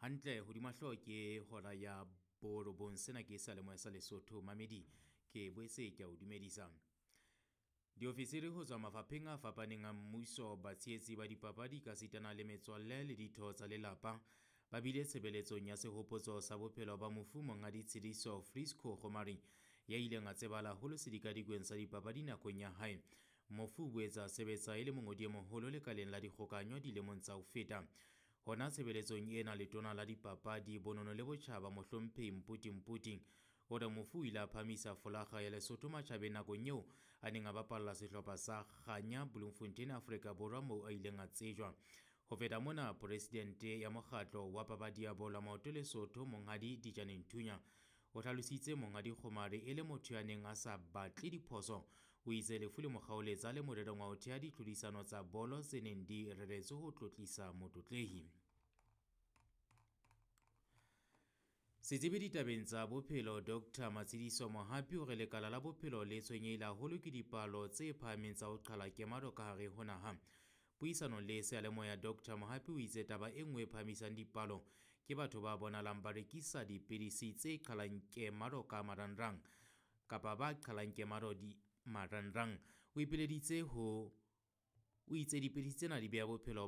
Hantle hodima hlooho ke hora ya borobong. Sena ke seyalemoya sa Lesotho. Mamedi ke boetse ke a o dumedisa. Diofisiri ho tswa mafapheng a fapaneng a mmuso, batshehetsi ba dipapadi kasitana le metswalle le ditho tsa lelapa ba bile tshebeletsong ya sehopotso sa bophelo ba mofu Monghadi Tshidiso Frisco Kgomari ya ileng a tsebahala haholo sedikadikweng sa dipapadi nakong ya hae. Mofu o boetse a sebetsa e le mongodi e moholo lekaleng la dikgokahanyo dilemong tsa ho feta. Hona tshebeletsong ena letona la dipapadi, bonono le botjhaba mohlomphehi Mputi Mputi o re mofu o ile a phahamisa folakga ya Lesotho matjhabeng nakong eo a neng a bapalla sehlopha sa Kganya Bloemfontein Afrika Borwa moo a ileng a tsejwa. Ho feta mona, presidente ya mokgatlo wa papadi ya bolo ya maoto Lesotho Monghadi Dijane Nthunya o hlalositse Monghadi Kgomari e le motho ya neng a sa batle diphoso. O itse lefu le mo kgaoletsa le morerong wa ho theha ditlhodisano tsa bolo tse neng di reretswe ho tlotlisa motlotlehi. Setsebi ditabeng tsa bophelo Dr. Matshidiso Mohapi o re lekala la bophelo le tshwenyehile haholo ke dipalo tse phahameng tsa ho qhala kemaro ka hare ho naha. Puisanong le seyalemoya Dr. Mohapi o itse taba e nngwe e phahamisang dipalo ke batho ba bonahalang ba rekisa dipidisi tse qhalang kemaro ka marangrang kapa ba qhalang kemaro di marangrang. O ipileditse ho o itse dipidisi tsena di beha bophelo